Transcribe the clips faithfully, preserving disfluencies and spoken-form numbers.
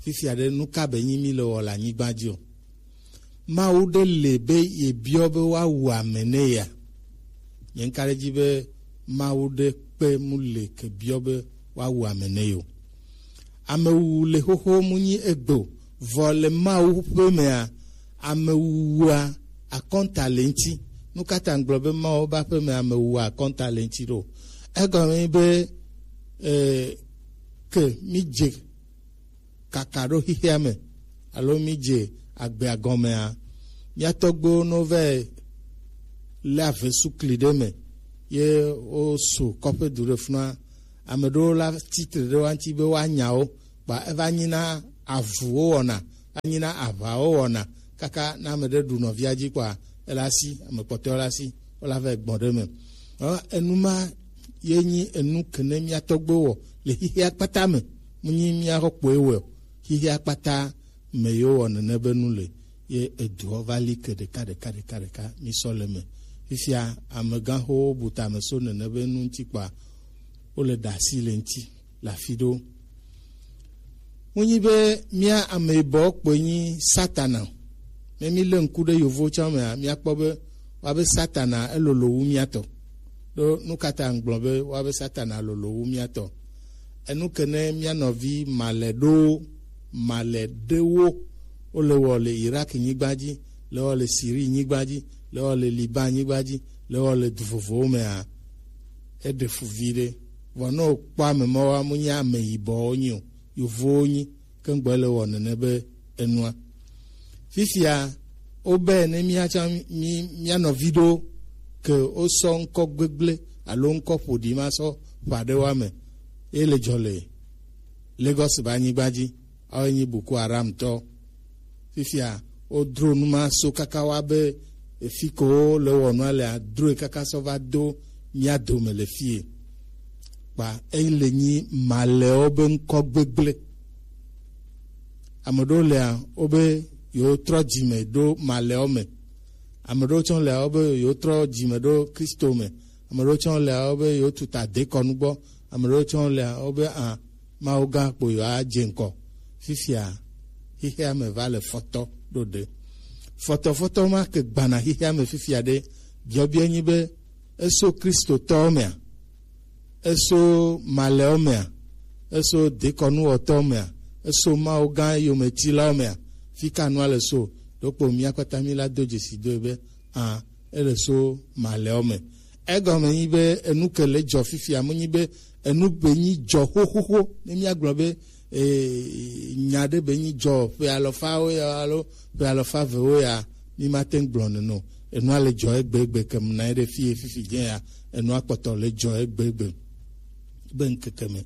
Fifia ɖe, nu ka be nyi mi le wɔ le anyigba dzi o? Mawu ɖe le be ye biɔ be woawu ame ne ya? Nye ŋka ɖe dzi be Mawu ɖe kpe mu le ke biɔ be woawu ame ne yo. Amewuwu le xoxo mu nyi egbe o, vɔ le Mawu ƒe mea, amewuwua akɔnta le ŋti. Nu ka ta ŋgblɔ be Mawu ƒe aƒe me amewuwua akɔnta le ŋti ɖo? Egɔme be e, ke mi dze kaka ɖo xixea me alo mi dze agbea gɔmea, mía tɔgbuiwo no vɛ lé ave sukli ɖe me ye wo su kɔƒe du ɖe funua. Ame ɖewo la tsitre ɖe wa ŋuti be woanya wo, kpa eva nyi na avu wo wɔna, va nyi na aʋa wo wɔna, kaka na ame ɖe ɖu nɔvia dzi kpa ela si, ame kpɔtɔewo la si, wola vɛ gbɔn ɖe me. Ɔ, enu ma ye nyi enu ke ne mía tɔgbuiwo wɔ le xixea kpata me, mu nyi mía xɔ kpoe wɔ o. Xixea kpata me yewo wɔ nene be nu le, ye eduɔ va li ke ɖeka ɖeka ɖeka ɖeka mi sɔ le me. Fifia amegãxowo bu tame so nene be nu ŋuti kpa wo le ɖe asi le ŋuti le afi ɖewo. Mu nyi be mía ame yibɔ kpoe nyi Satana. Ne mi le ŋku ɖe yovo tsã mea, mía kpɔ be wa be Satana elolo wu mía tɔ. Ɖo nu ka ta ŋgblɔ be wa be Satana lolo wu mía tɔ? Enu ke ne mía nɔvi malɛ ɖo malɛ ɖewo wo le wɔ le Irak nyigba dzi, le wɔ le Siri nyigba dzi, le wɔ le Liban nyigba dzi, le wɔ le du vovovowo mea, eɖe fu vi ɖe. Vɔ ne wokpɔ ame mawoa, mu nyi ame yibɔwo nyi o, yovowo nyi, ke ŋgbɔ le wɔ nene be enua. Fifia wobe ne mía tsã mi mía nɔvi ɖewo ke wosɔ ŋkɔ gbegblẽ alo ŋkɔ ƒoɖi ma sɔ ƒã ɖe woa me, ye le dzɔ le Lagos be anyigba dzi, awoe nyi Boko Haram tɔ. Fifia wodro nu ma so kaka wa be efi ko wo le wɔ nua lea, droe kaka sɔ va do mía dome le fie. Kpa eyi le nyi malɛwo be ŋkɔ gbegblẽ. Ame ɖewo lea, wobe yewotrɔ dzime ɖo malɛwo me. Ame ɖewo tsã lea, wobe yewotrɔ dzime ɖo Kristo me. Ame ɖewo tsã lea, wobe yewotu ta dekɔnu gbɔ. Ame ɖewo tsã lea, wobe a, Mawu gã kpo yewoadze ŋkɔ. Fifia xexea me va le fɔtɔ ɖo ɖe. Fɔtɔfɔtɔ ma ke gbana xexea me fifia ɖe, biɔbiɔ nyi be eso Kristotɔwo mea? Eso malɛwo mea? Eso dekɔnuwɔtɔwo mea? Eso Mawu gã yometilawo mea? Fi ka nua le so? Ɖokpo mía kpata mí la do dzesi doe be a, ele so malɛwo me. Egɔme nyi be enu ke le dzɔ fifia mu nyi be enu be nyi dzɔ xoxoxo ne mía gblɔ be e, nya ɖe be nyi dzɔ ƒe alɔfawo ya alo ƒe alɔfa evewo ya, mi ma te ŋu gblɔ nene o. Enua le dzɔ egbegbe ke mu na ye ɖe fi ye fifi dze ya, enua kpɔtɔ le dzɔ egbegbe be ŋkeke me.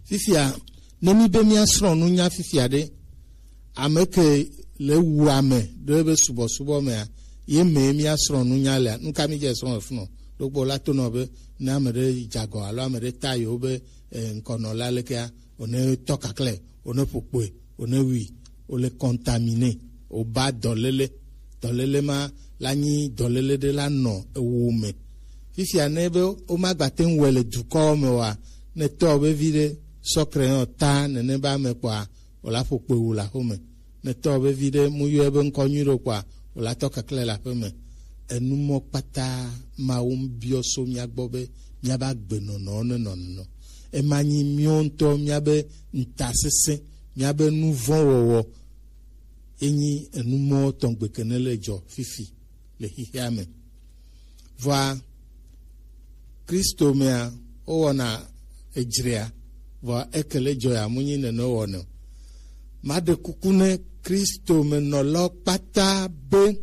Fifia, ne mi be mía srɔ̃ nunya fifia ɖe, ame ke le wu ame ɖe be subɔsubɔ mea, ye me mía srɔ̃ nunya lea, nu ka mi dze srɔ̃ efunɔ? Ɖokpo la tonɔ be ne ame ɖe dze agɔ alo ame ɖe ta yewo be e, ŋkɔnɔla lekea, wòne tɔ kakle, wòne ƒo kpoe, wòne wui, wòle contaminer, wòba dɔléle. Dɔléle ma la nyi dɔléle ɖe la nɔ ewo me. Fifia ne be womagba te ŋu wɔe le dukɔwo me oa, ne tɔ be vi ɖe sɔ crayon ta nene be ame kpɔa, wòla ƒo kpoe wu le aƒe me. Ne tɔ be vi ɖe mu yɔe be ŋkɔ nyui ɖo kpɔa, wòla tɔ kakle le aƒe me. Enumɔ kpata Mawu biɔ so mía gbɔ be míaba gbenɔnɔwo ne nɔ nenɔ. Ema nyi míawo ŋutɔ míabe ŋutasesẽ, míabe nu vɔ̃ wɔwɔ. Enyi enumɔ tɔgbe ke ne le dzɔ fifi le xexea me. Vɔa Kristo mea, wowɔna edzrea, vɔa eke le dzɔ ya mu nyi nene wowɔnɛ o. Maɖe kuku ne Kristo me nɔlawo kpata be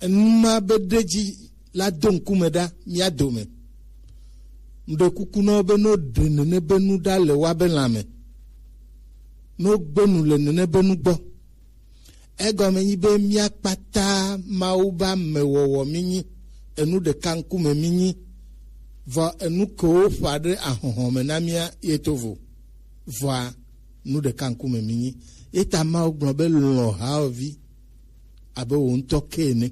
enu ma be ɖe dzi la do ŋkume ɖa mía dome. Mɖe kuku na wo be no ɖe nene be nu ɖa le woabe lãme, no gbe nu le nene be nu gbɔ. Egɔme nyi be mía kpata Mawu be amewɔwɔ mí nyi, enu ɖeka ŋkume mí nyi, vɔ enu kewo ƒã ɖe ahɔhɔ me na mía ye to vo, vɔa nu ɖeka ŋkume mí nyi. Ye ta Mawu gblɔ be lɔ̃ hawòvi abe wò ŋutɔ ke ene.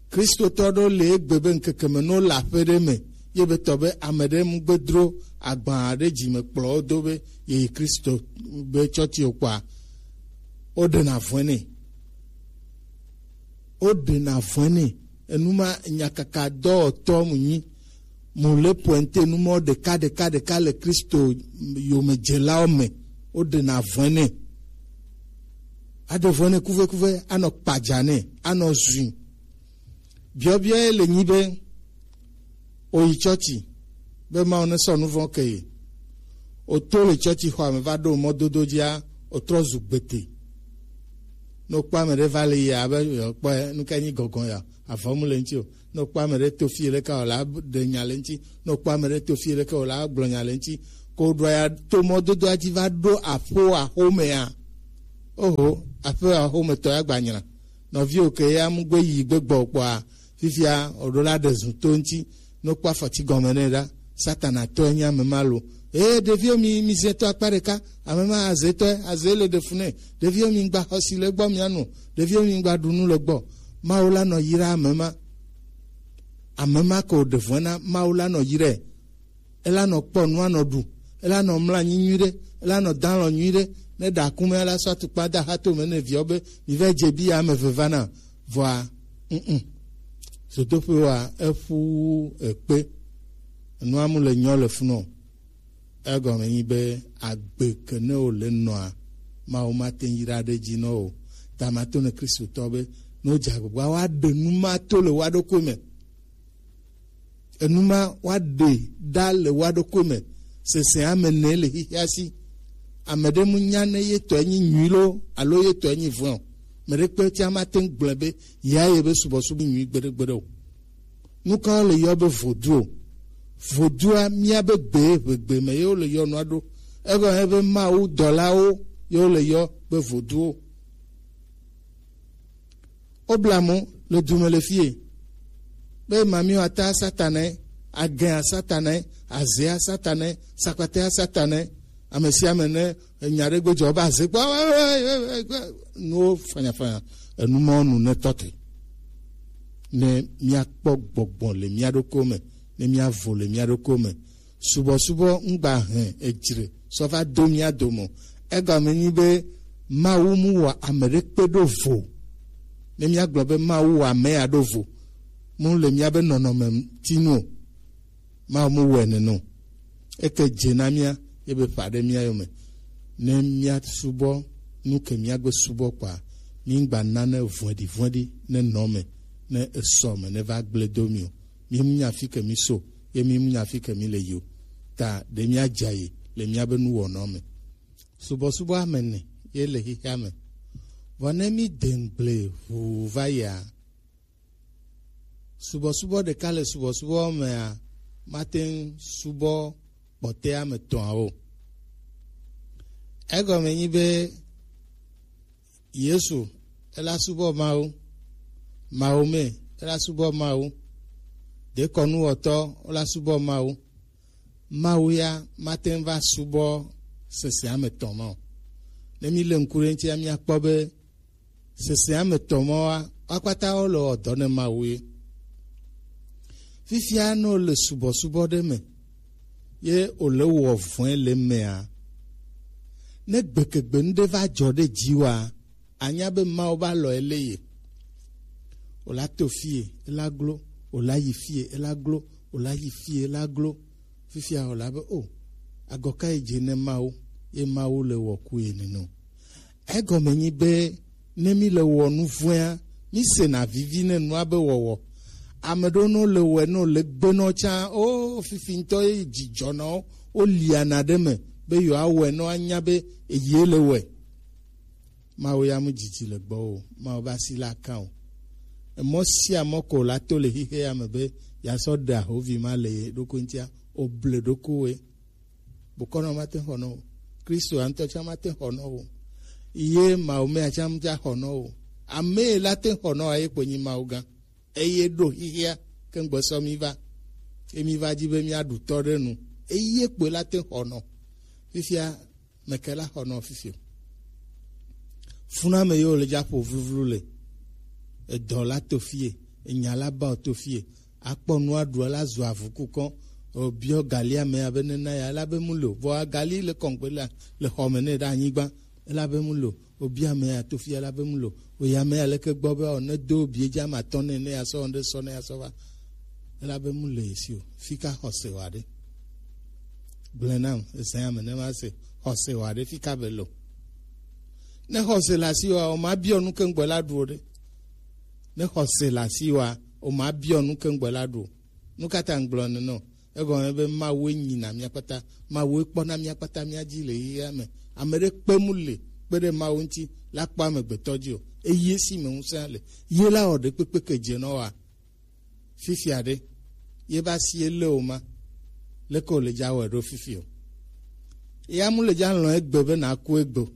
Kristotɔ ɖewo le egbe be ŋkeke me ne wole aƒe ɖe me, ye be tɔ be ame ɖe mu gbe dro agba ɖe dzi me kplɔ wo do be yeyi Kristo be tsɔti o kpɔa, woɖena vɔe nɛ. Woɖena vɔe nɛ. Enu ma nyakaka dɔwɔtɔ mu nyi. Mu le pointe nu mɔ ɖeka ɖeka ɖeka le Kristo yomedzelawo me. Woɖena vɔe nɛ. Aɖe vɔe nɛ kuvekuve, anɔ kpadza nɛ, anɔ zui. Biɔbiɔ ye le nyi be, oyi tsɔtsi be Mawu ne sɔ nuvɔ̃ ke ye. Oto le tsɔtsi xɔa me va ɖo mɔdodo dzia, otrɔ zu gbete. Ne wokpɔ ame ɖe va le yia, abe yewoakpɔe, nu ka nyi gɔgɔ̃ ya? Avɔ mu le ŋuti o. Ne wokpɔ ame ɖe to fie leke wòla ɖe nya le ŋuti. Ne wokpɔ ame ɖe to fie leke wòla gblɔ nya le ŋuti. Ko ɖoa ya to mɔdodoa dzi va ɖo aƒo axomea. Oho, aƒe axometɔ ya gbanyra. Nɔviwo ke ya mu gbe yi gbe gbɔ kpɔa, fifia wòɖo la ɖe zu to ŋuti, ne wokpɔ afɔti gɔme nɛ ɖa, Satana tɔe nye ame ma lo. Ee, ɖeviwo mi, mi zẽ tɔ akpa ɖeka, ame ma azetɔe, aze le ɖe fu nɛ. Ɖeviwo mi gba xɔsi le gbɔ mianu, ɖeviwo mi gba ɖu nu le gbɔ. Mawu la nɔ yra ame ma. Ame ma ko ɖe vɔ̃e na Mawu la nɔ yrae. Ela nɔ kpɔ nu anɔ ɖu, ela nɔ mlɔ anyi nyuiɖe, ela nɔ dalɔ nyuiɖe. Ne ɖa kume ala sɔ atukpa da ha to me ne viɔ be mi va dze bi ya ame veva na vɔa, mm, zodoƒe wa eƒu ekpe. Enua mu le nyɔ le funɔ. Egɔme nyi be agbe ke ne wo le nɔa, Mawu mate ŋu yra ɖe dzi nɔ o. Ta mato ne Kristotɔ be ne wodze agbagba woaɖe nu ma to le woa ɖokui me. Enu ma woaɖe ɖa le woa ɖokui me. Sese ame ne le xixia si. Ame ɖe mu nya ne ye tɔe nyi nyui lo alo ye tɔe nyi vɔ̃ o. Me ɖe kpe tia mate ŋu gblɔe be ya ye be subɔsubɔ nyui gbeɖegbeɖe o. Nu ka wole yɔ be vodu o? Vodua mía be gbe, ʋegbe me ye wole yɔ nua ɖo. Egɔme be Mawu dɔlawo ye wole yɔ be voduwo. Wobla mo le du me le fie. Be mamiwo ata Satanae, agɛa Satanae, azea Satanae, sakpatea Satanae, ame sia ame ne enya ɖe gbe dzɔ be aze kpɔ, nuwo fanyafanya, enu mawo nu ne tɔ te. Ne míakpɔ gbɔgbɔ le mía ɖokuiwo me, ne míavo le mía ɖokuiwo me, subɔsubɔ ŋgba hɛn edzre sɔ va do mía dome o. Egɔme nyi be Mawu mu wɔ ame ɖe kpe ɖo vo. Ne míagblɔ be Mawu wɔ ame ya ɖo vo, mu le míabe nɔnɔme ŋuti nu o. Mawu mu wɔe nene o. Eke dze na mía, ye be ƒa ɖe mía yome. Ne míasubɔ nu ke míagbe subɔ kpɔa, míŋgba nane vɔ̃ɖivɔ̃ɖi ne nɔ me, ne esɔ me, ne va gblẽ do mí o. Mímu nya fi ke mí so, ye mímu nya fi ke mí le yi o. Ta ɖe míadza yi le míabe nuwɔnɔ me. Subɔsubɔ ame ene ye le xexea me. Vɔ ne mí de ŋgble ʋuu va yia, subɔsubɔ ɖeka le subɔsubɔ mea, mate ŋu subɔ kpɔtɔe ame etɔ̃awo. Egɔme nyi be Yesu ela subɔ Mawu, Mawu me ela subɔ Mawu, dekɔnuwɔtɔ ela subɔ Mawu. Mawu ya mate ŋu va subɔ sese ame etɔ̃ ma o. Ne mí le ŋku ɖe eŋutia, míakpɔ be sese ame etɔ̃ ma wa, wo kpata wo le wɔ dɔ ne Mawu ye. Fifia ne wo le subɔsubɔ ɖe me, ye wo le wɔ vɔ̃e le mea, ne gbekegbe nu ɖe va dzɔ ɖe dzi wa, anya be Mawu va lɔ ele ye. Wòla to fie, ela glo, wòla yi fie, ela glo, wòla yi fie, ela glo. Fifia wòla be, o, agɔ ka yi dze ne Mawu, ye Mawu le wɔ ku ye nene o. Egɔme nyi be, ne mí le wɔ nu vɔ̃ea, mí sena vivi ne nua be wɔwɔ. Ame ɖewo ne wole wɔe, ne wole gbe nɔ tsã, o, fifi ŋutɔ ye dzidzɔ na wo, woliana ɖe me be yewoawɔe ne woanya be eye le wɔe. Mawu ya mu dzidzi le gbɔwò o. Mawu be asi la kã o. Emɔ sia mɔ ko la to le xixe ya me be yeasɔ ɖe ahovi ma le ye ɖokui ŋutia, oble ɖokuiwòe. Bokɔnɔ mate xɔ nɔ o. Kristo ya ŋutɔ tsã mate xɔ nɔ o. Ye Mawu mea tsã mate xɔ nɔ o. Ame la te xɔ nɔ ye kpo nyi Mawu gã. Eye ɖo xixia ke ŋgbe sɔ mi va. Ye mi va dzi be miaɖu tɔ ɖe nu. Eye kpoe la te xɔ nɔ. Fifia meke la xɔ nɔ fifi o. Funame yewo le dza ƒo vluvlu le. Edɔ la to fie, enya la ba o to fie. Akpɔ nua ɖu la zu avu kukɔ. Obiɔ gali ame abe nena ya, ela be mu lo. Vɔ agali le kɔngbe la le xɔme ne ɖe anyigba, ela be mu lo. Obiɔ ame ya to fia, ela be mu lo. Oya ame ya leke gbɔ be o ne do bie dza ma tɔ ne ne ya sɔ ne sɔ ne ya sɔ va, ela be mu le si o. Fika xɔse wa ɖe. Gblẽ nam ezã ame ne ma se xɔse wa ɖe fika be lo. Ne xɔse la si wa o ma biɔ nu ke ŋgbɔ la ɖu o ɖe. Ne xɔse la si wa o ma biɔ nu ke ŋgbɔ la ɖu o. Nu ka ta ŋgblɔ nenɔ? Egɔme be Mawue nyina mía kpata, Mawue kpɔna mía kpata mía dzi le yeyea me. Ame ɖe kpe mu le kpe ɖe Mawu ŋuti la kpɔ amegbetɔ dzi o. Eye si me ŋusẽ le. Ye la wɔ ɖe kpekpe ke dze nɔ wa. Fifia ɖe, ye ba si ele o ma. Leke o le dza wɔe ɖo fifi o. Ya mu le dza lɔ̃ egbe be na ku egbe o.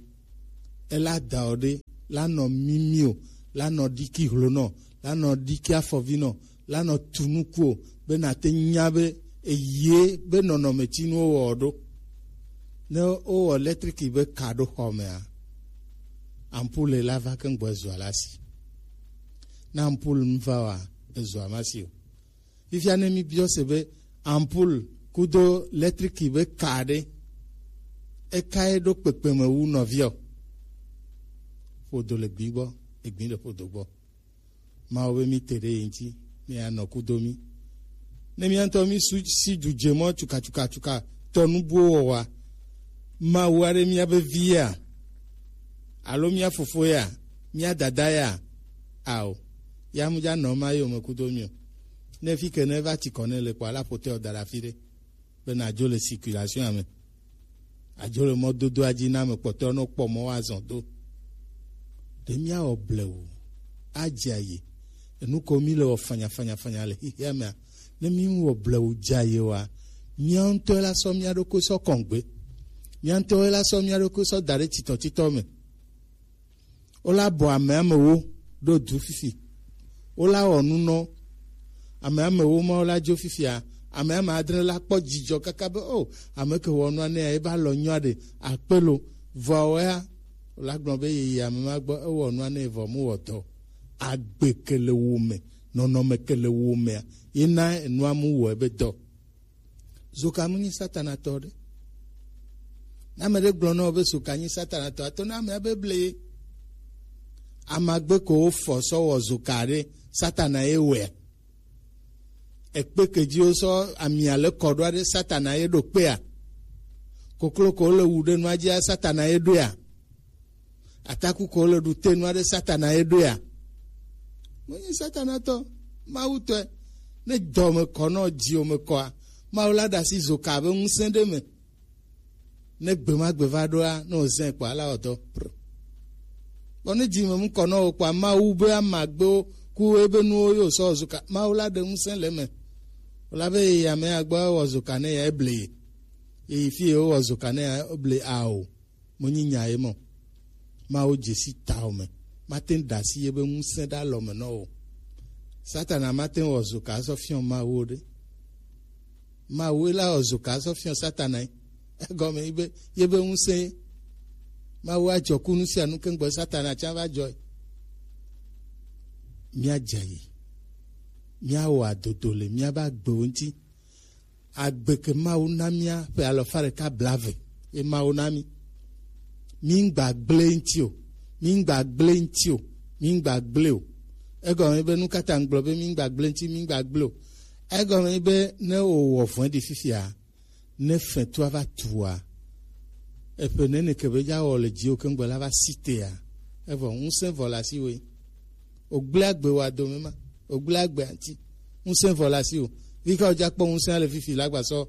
Ela da o ɖe, la nɔ mimi o, la nɔ ɖiki hlo nɔ, la nɔ ɖiki afɔvi nɔ, la nɔ tu nuku o, be na te nya be eye be nɔnɔme ti nu wo wɔ ɖo. Ne wo wɔ lɛtriki be ka ɖo xɔ mea, ampule la va ke ŋgbɔ ezua la si. Ne ampule mu va wa, ezua ma si o. Fifia ne mi biɔ se be ampule kudo lɛtriki be ka ɖe, eka ye ɖo kpekpe me wu nɔviɔ? Ƒodo le gbi gbɔ, egbi le ƒodo gbɔ. Mawu be mi te ɖe ye ŋuti, mi anɔ kudo mi. Ne mía ŋutɔ mi su si du dze mɔ tsuka tsuka tsuka tɔ nu buwo wɔwa, Mawu aɖe mía be vi ya, alo mía fofo ya, mía dada ya, ao, ya mu dza nɔ ma yome kudo mi o. Ne fi ke ne va tsi kɔ ne le kpɔ ala ƒotɛ o da ɖe afi ɖe. Be nàdzo le circulation me, àdzo le mɔdodoa dzi na ame kpɔtɔewo ne wokpɔ mɔ woazɔ do. Ɖe míawɔ blewu adze ayi enu ko mí le wɔ fanyafanyafanya le xexea mea? Ne míwɔ blewu dze ayi oa, mía ŋutɔe la sɔ mía ɖokui sɔ kɔngbe, mía ŋutɔe la sɔ mía ɖokui sɔ da ɖe titɔtitɔ me. Wola bɔ ame amewo ɖo du fifi. Wola wɔ nu nɔ ame amewo ma wola dzo fifia. Ame ame adre la kpɔ dzidzɔ kaka be o, ame ke wɔ nua nea eba lɔ nyɔa ɖe akpe lo. Vɔa wɔea wola gblɔ be yeyi ame ma gbɔ ewɔ nua ne vɔ mu wɔ dɔ. Agbe ke le wo me, nɔnɔme ke le wo mea, ye na enua mu wɔ ebe dɔ. Zoka mu nyi Satana tɔ ɖe. Ne ame ɖe gblɔ na wò be zoka nyi Satana tɔ, ato na amea be ble ye. Amagbe ko wofɔ sɔ wɔ zoka ɖe, Satana ye wɔea. Ekpe ke dzi wosɔ amia le kɔ ɖoa ɖe, Satana ye ɖo kpea. Koklo ko le wu ɖe nua dzia, Satana ye ɖoea. Ataku ko le ɖu te nua ɖe, Satana ye ɖoea. Menye Satana tɔ, Mawu tɔe. Ne dɔ me kɔ nɔ dzi o me kɔa, Mawu la ɖe asi zoka be ŋusẽ ɖe me. Ne gbe ma gbe va ɖoa, ne wòzẽ kpɔa, ala wɔ dɔ. Kpɔ ne dzi me mu kɔ nɔ wò kpɔa, Mawu be amagbewo ku ebe nuwo yo sɔ wɔ zoka. Mawu la ɖe ŋusẽ le me. Wòla be yeyi ame ya gbɔ ewɔ zoka ne ya eble ye. Yeyi fi ye wowɔ zoka ne ya eble ao. Menyi nya ye mɔ. Mawu dze si tawò me. Mate ŋu ɖe asi ye be ŋusẽ ɖe alɔ me nɔ wò. Satana mate ŋu wɔ zoka sɔ fiɔ Mawu o ɖe. Mawu la wɔ zoka sɔ fiɔ Satana ye. Egɔme yi be ye be ŋusẽ ye. Mawu adzɔ ku nu sia nu keŋgbɔ Satana tsã va dzɔe. Míadze ayi. Míawɔ adodo le míabe agbewo ŋuti. Agbe ke Mawu na mía ƒe alɔfa ɖeka blaeve ye Mawu na mí. Mí ŋgba gblẽ ŋuti o, mí ŋgba gblẽ ŋuti o, mí ŋgba gblẽ o. Egɔme be nu ka ta ŋgblɔ be mí ŋgba gblẽ ŋuti, mí ŋgba gblẽ o? Egɔme be ne wòwɔ vɔ̃ɖi fifia, ne fɛtua va tua, eƒe nene ke be dza wɔ le dziwò keŋgbe la va si tea, evɔ ŋusẽ vɔ le asiwòe. Wògblẽ agbe wò adome ma, wògblẽ agbe aŋuti. Ŋusẽ vɔ le asiwò. Fika wòdza kpɔ ŋusẽ le fifi la gba sɔ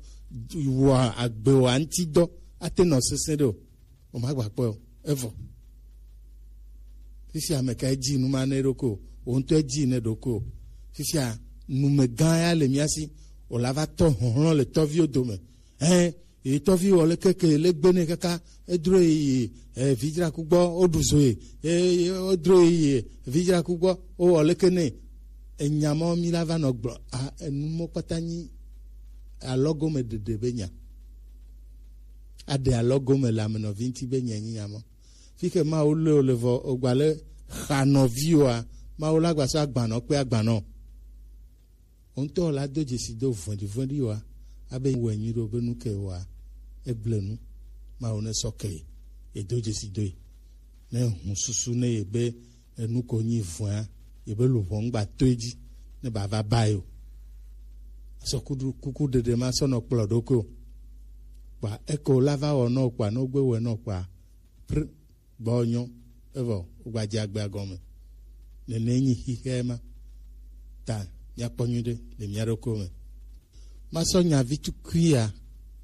wɔ agbe wò aŋuti dɔ ate nɔ sesẽ ɖe o. Wòmagba kpɔe o. Evɔ. Fifia ame kae dzi nu ma ne ɖokui o? Wò ŋutɔ dzi ne ɖokui o. Fifia numegã ya le mía si. Wòla va tɔ hlɔ̃hlɔ̃ le tɔviwo dome. Ɛ, ye tɔvi wɔ leke ke le gbe ne kaka edro yi, eh, vidzraku gbɔ woɖu zo ye, eh, wodro yi, eh, vidzraku gbɔ wowɔ leke ne. Enya mɔ mi la va nɔ gblɔ a, enu mɔ kpata nyi alɔgome ɖeɖe be nya. Aɖe alɔgome le amenɔvi ŋuti be nya nyi nya mɔ. Fi ke Mawu le o le vɔ o gba le xa nɔvi oa, Mawu la gba sɔ agbanɔ kpe agbanɔ. Wo ŋutɔ la do dzesi do vɔ̃ɖi vɔ̃ɖi oa, Abe wɛ nyuiɖe be nu ke wa egble nu. Mawu ne sɔ ke ye do dzesi do ye. Ne hun susu ne ye be enu ko nyi vɔa, ye be luʋɔ ŋgba to edzi ne ba va ba ye o. Asɔ kuku ɖeɖe ma sɔ nɔ kplɔ ɖokui o. Kpa eko la va wɔ nɔ kpa ne wogbe wɛ nɔ kpa pr gbɔ nyɔ evɔ wogba dze agbea gɔme. Nene nyi xixea ma. Ta míakpɔ nyuiɖe le mía ɖokuiwo me. Masɔ nya vi tukui ya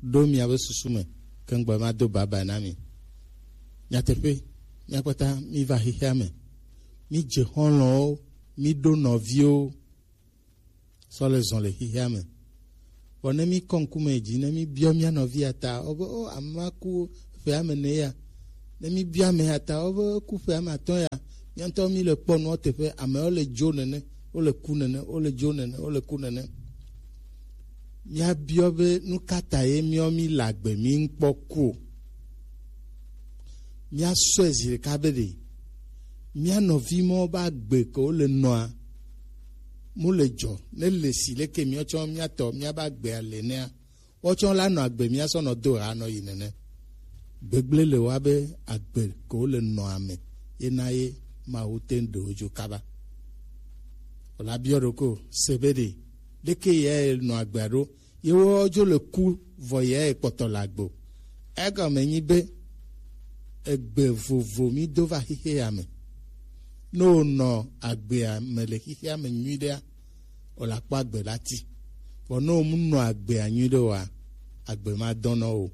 ɖo miabe susu me keŋgbɔ mado baba na mi. Nyateƒe, míakpɔta míva xexea me. Mídze xɔlɔ̃wo, míɖo nɔviwo sɔ le zɔn le xexea me. Vɔ ne míkɔ ŋkume dzi, ne míbiɔ mía nɔvia ta, wobe, o, ame ma ku ƒe ame ene ya. Ne míbiɔ ame ya ta, wobe ku ƒe ame atɔ̃ ya. Mía ŋutɔ míle kpɔ nua teƒe, amewo le dzo nene, wole ku nene, wole dzo nene, wole ku nene. Míabiɔ be nu ka ta ye míawo míle agbe míŋkpɔ ku o. Míasɔe zi ɖeka be ɖe mía nɔvi mawo be agbe ke wole nɔa, mu le dzɔ ne le si leke míawo tsɔ míatɔ míabe agbea le nɛa, woawo tsɔ la nɔ agbe míasɔ nɔ do ha nɔ yi nene. Gbegblẽ le wa be agbe ke wole nɔa me ye na ye Mawu te ŋu ɖe wo dzo kaba. Wòla biɔ ɖoko se be ɖe leke ye nɔ agbea ɖo, ye woawo dzo le ku vɔ ye kpɔtɔ le agbe o. Egɔme nyi be egbe vovo mí do va xexe ya me. Ne wònɔ agbea me le xexea me nyuiɖea, wòla kpɔ agbe la ti. Vɔ ne wòmu nɔ agbea nyuiɖe oa, agbe ma dɔn nɔ o.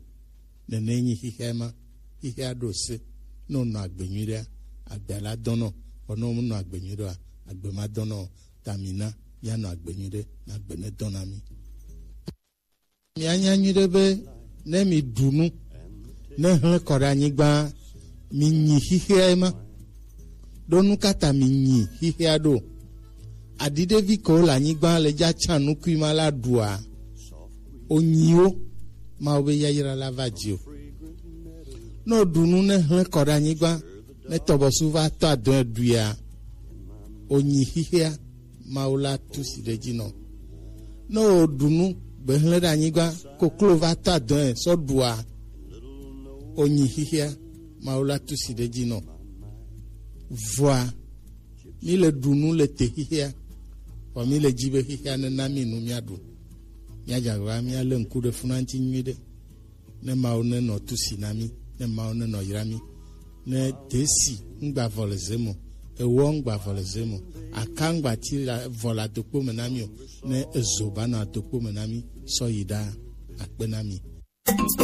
Nene nyi xexea ma. Xexea ɖo se. Ne wònɔ agbe nyuiɖea, agbea la dɔn nɔ. Vɔ ne wòmu nɔ agbe nyuiɖe oa, agbe ma dɔn nɔ o. Ta mina míanɔ agbe nyuiɖe, na agbe ne dɔn na mí. Mianya nyuiɖe be ne mi ɖu nu, ne hlẽ kɔ ɖe anyigba, mi nyi xixea ma. Ɖo nu ka ta mi nyi xixea ɖo? Aɖiɖevi kewo le anyigba le dza tsa nukui ma la ɖua, onyiwo, Mawu be yayra la va dzi o. Ne oɖu nu ne hlẽ kɔ ɖe anyigba, ne tɔbɔsu va tɔ adɔe ɖuia, onyi xixea, Mawu la tu si ɖe edzi nɔ. Ne wòɖu nu, gbe hlẽ ɖe anyigba, koklo va ta dɔe sɔ ɖua, onyi xixia, Mawu la tu si ɖe edzi nɔ. Vɔa, mi le ɖu nu le te xixia, vɔ mi le dzi be xixia ne na mi nu mia ɖu. Mia dze agbagba mia le ŋku ɖe funa ŋuti nyuiɖe. Ne Mawu ne nɔ tusi na mí, ne Mawu ne nɔ yra mí, ne desi ŋgba vɔ le ze me o, ewɔ ŋgba vɔ le ze me o, aka ŋgba ti la vɔ le adokpo me na mí o, ne ezo ba nɔ adokpo me na mí, sɔ yi ɖa akpe na mí.